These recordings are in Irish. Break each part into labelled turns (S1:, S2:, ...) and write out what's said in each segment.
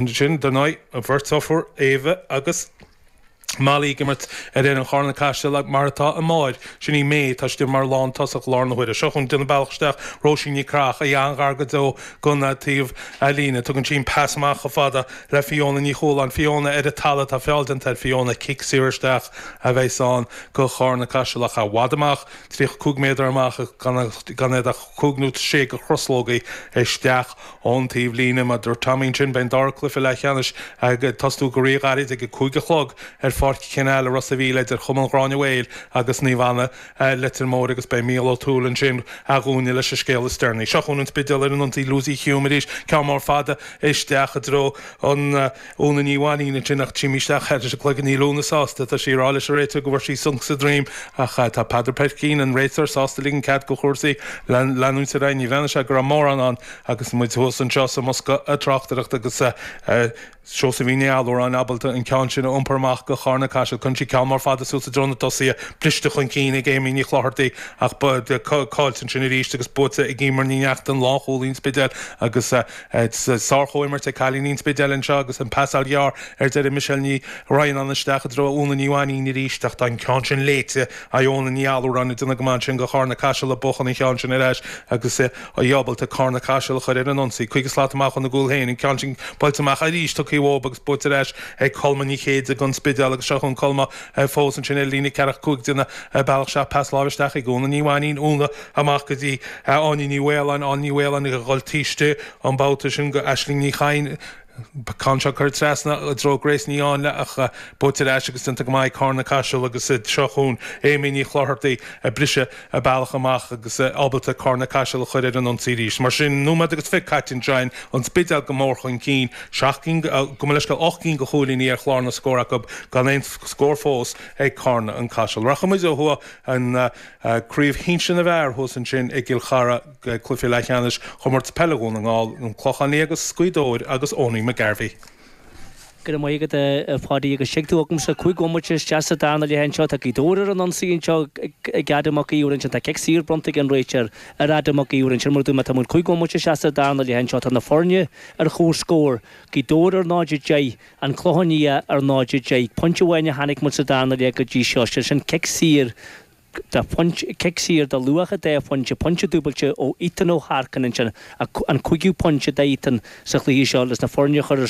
S1: Ansin, dar ndóigh, an bheirt deirfiúr, Éabha agus Molly ag imirt ar fhoireann Charna Caiseal mar atá a máthair, sin í May, tá sí mar lántosach i láthair na huaire. Seo chugainn ag déanamh bealach isteach Róisín Ní Chreach, í an-ghar go deo don taobh líne. Tugann sí an pas amach chomh fada le Fiona Ní Chualáin. Fiona ar an talamh, tá feall déanta ar Fiona, cic saor isteach a bheas ann go Charna Caiseal ach i bhfad amach, 35 méadar amach gan iad ach cúig nó sé de chroslógaí isteach Ón taobh líne, mar a dúirt Tommy ansin, beidh an dara cluiche leathcheannais ag tosnú go ríghairid ag a 5 a chlog ar Pháirc Canal i Ros a' Mhíl idir Chumann Ghráinne Mhaol agus Naomh Anna, Leitir Móir agus beidh Mícheál Ó Tuathail ansin dhúinne leis an scéal is deireanaí. Seo chugainn an Spidéal ar an ionsaí Lucy Hume arís, ceann mór fada isteach i dtreo an Úna Ní Mhainnín ansin ach trími isteach ar an gcloigeann. Níl Úna sásta. Tá sí ag rá leis an réiteoir go bhfuair sí sonc sa droim ach tá Peadar Peircín, an réiteoir, sásta ligean cead do chúrsaí leanúint ar aghaidh. Ní bhreathnaigh sé go raibh mórán ann agus muid thuas anseo sa mbosca tráchtaireachta agus Seosaimhín Ní Allúráin ábalta an ceann sin a iompar amach go Charna Caiseal. Cuireann sí ceann mór fada suas i dtreo na dtosaithe, briste chun cinn ag Amy Ní Chlochartaigh ach caillte ansin arís agus buaite ag Emer Ní Neachtain, lánchúlaí an Spidéil agus Sár-chomhimirt ag cailíní an Spidéil anseo agus an pasáil ghearr ar deireadh Michelle Ní Raghanáin isteach i dtreo Úna Ní Mhainnín arís ach tá an ceann sin léite ag Iona Ní Allúráin ag déanamh go maith ansin do Charna Caiseal ag buachan an cheann sin ar ais agus í ábalta Carna Caiseal a chur ar an ionsaí. 50 slat amach óna gcúl féin, an ceann sin buailte amach arís tugtha uathu agus buaite ar ais ag Colma Ní Chéide don Spidéal agus seo chugainn Colma fós ansin ar líne ceathracha 5 ag déanamh a bealach isteach pas láimhe isteach ag Úna Ní Mhainnín, Úna amach go dtí Áine Ní Mhaoláin, Áine Ní Mhaoláin ag dhul taobh istigh an babhta sin go Aisling Ní Chadhain. Ceann seo curtha trasna i dtreo Grace Ní Áinle ach buaite ar ais agus déanta go maith ag Carna Caiseal agus seo chugainn Amy Ní Chlochartaigh ag briseadh a bealach amach agus ábalta Carna Caiseal a chur ar an ionsaí arís. Mar sin, nóiméad agus 20 caite anseo, an Spidéal go mór chun cinn, seacht gcinn, gabh mo leithscéal, ocht gcinn de chúilíní ar chlár na scór acu gan aon scór fós ag Carna an Caiseal. Rachaidh muid ó thuaidh an Craobh Shinsir na bhFear thuas ansin i gCill Chartha, cluiche leathcheannais Chomórtas Peile Dhún na nGall, An Clochán Liath agus Gaoth Dobhair agus Owenie McGarvey.
S2: Go raibh maith agat a Pháidí agus tuig tú agamsa 5 bhomaite isteach sa darna leath anseo tá Gaoth Dobhair ar an ionsaí anseo ag Adam Mac Íomhair ansin tá cic saor bronnta ag an réiteoir ar Adam Mac Íomhair ansin mar a dúirt mé tá muid 5 bhomaite isteach sa darna leath anseo tá na foirne ar chomhscór Gaoth Dobhair ar 0-10 An Clochán Liath ar 0-10. Pointe amháin a chonaic muid sa darna leath go dtí seo, sé sin cic saor de phointe, cic saor de luach an dá phointe, pointe dúbailte ó Ethan Ó hEarcáin ansin, an cúigiú pointe d'Ethan sa chluiche seo leis na foirne a chur ar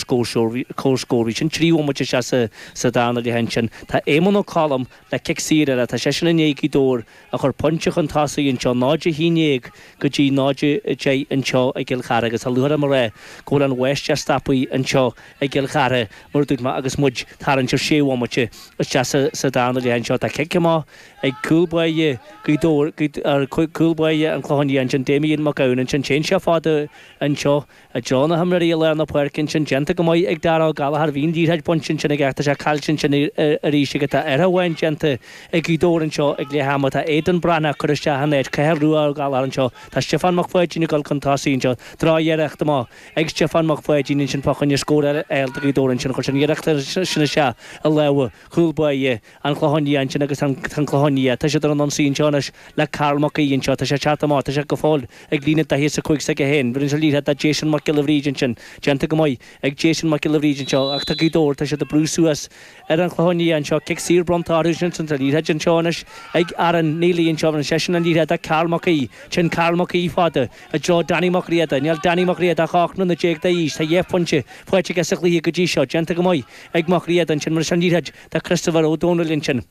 S2: comhscór. Bhí sin 3 bhomaite isteach sa darna leath ansin. Tá Éamonn Ó Colm le cic saor eile, tá seisean i ndiaidh Gaoth Dobhair a chur pointe chun tosaigh anseo, 0-11 go dtí 0-10 anseo i gCill Chartha agus tá lúcháir orm a rá go bhfuil an bháisteach stoptha anseo i gCill Chartha, mar a dúirt mé, agus muid tarraingt ar sé bhomaite isteach sa darna leath anseo. Tá cic amach ag cúl báire Ghaoth Dobhair, cúl báire an Chlocháin Liath ansin, Damien Mac Gabhann ansin. Téann sé fada anseo i dtreo na himreoirí i lár na páirce ansin. Déanta go maith ag Dara Ó Gallchóir. Bhí an liathróid bainte ansin aige ach tá sé caillte ansin arís aige. Tá athrú amháin déanta ag Gaoth Dobhair anseo ag leath ama. Tá Aidan Breathnach curtha isteach in áit Cathal Rua Ó Gallchóir anseo. Tá Stiofán Mac Pháidín ag dul chun tosaigh anseo. Droch-iarracht amach ag Stiofán Mac Pháidín ansin fá choinne scór eile a fháil do Ghaoth Dobhair ansin. Chuir sé an iarracht sin isteach i lámha chúl báire an Chlocháin Liath ansin agus an Clochán Liath. Tá siad ar an ionsaí anseo anois le Karl Mac Aoidh anseo. Tá sé ag teacht amach. Tá sé go fóill ag líne 45 s'aige féin. Bheireann sé an liathróid do Jason Mac Giolla Bhríde ansin. Déanta go maith ag Jason Mac Giolla Bhríde anseo ach tá Gaoth Dobhair, tá siad ag brú suas ar an Chlochán Liath anseo. Cic saor bronnta orthu ansin. Tá an liathróid anseo anois ag Aaron Neely anseo. Bheireann seisean an liathróid do Karl Mac Aoidh. Téann Karl Mac Aoidh fada. I dtreo Danny Mac Riada. Níl Danny Mac Riada ach 18 mbliana d'aois. Tá dheich bpointe faighte aige sa chluiche go dtí seo. Déanta go maith ag Mac Riada ansin. Bheireann sé an liathróid do Christopher Ó Dónaill ansin.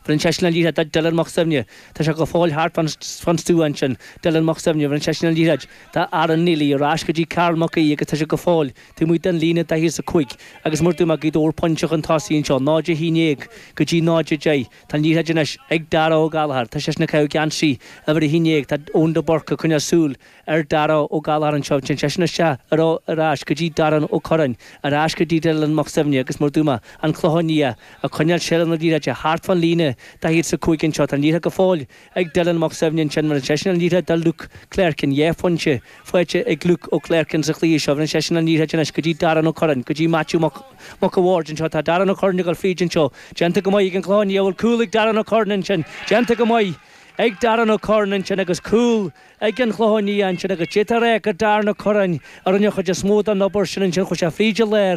S2: Bheireann seisean an liathróid do Dylan Mac Suibhne. Tá sé go fóill thart fán stua ansin. Dylan Mac Suibhne. Bheireann seisean an liathróid do Aaron Neely. Ar ais go dtí Karl Mac Aoidh agus tá sé go fóill taobh amuigh den líne 45 agus mar a dúirt mé Gaoth Dobhair pointe chun tosaigh anseo. 0-11 go dtí 0-10. Tá an liathróid anois ag Dara Ó Gallchóir. Tá seisean ag caitheamh geansaí uimhir 11. Tá Eoin de Búrca ag coinneáil súil ar Dara Ó Gallchóir anseo. Téann seisean isteach ar ar ais go dtí Darren Ó Curráin, ar ais go dtí Dylan Mac Suibhne agus mar a dúirt mé, an Clochán Liath ag coinneáil seilbh na liathróide thart fán líne 45 anseo. Tá an liathróid go fóill ag Dylan Mac Suibhne ansin. Bheireann seisean an liathróid do Luke Clerkin. Dhá phointe faighte ag Luke Ó Clerkin sa chluiche seo. Bheireann seisean an liathróid anois go dtí Darren Ó Curráin, go dtí Matthew Mac Mac a' Bhaird anseo. Tá Darren Ó Curráin ag dul fríd anseo. Déanta go maith ag an Clochán Liath. Bhfuil cúl ag Darren Ó Curráin ansin. Déanta go maith. ag Darren Ó Curráin ansin agus cúl ag an Chlochán Liath ansin agus d'fhéadfá a rá gur Darren Ó Curráin a rinne an chuid is mó den obair sin ansin. Chuaigh sé fríd an lár.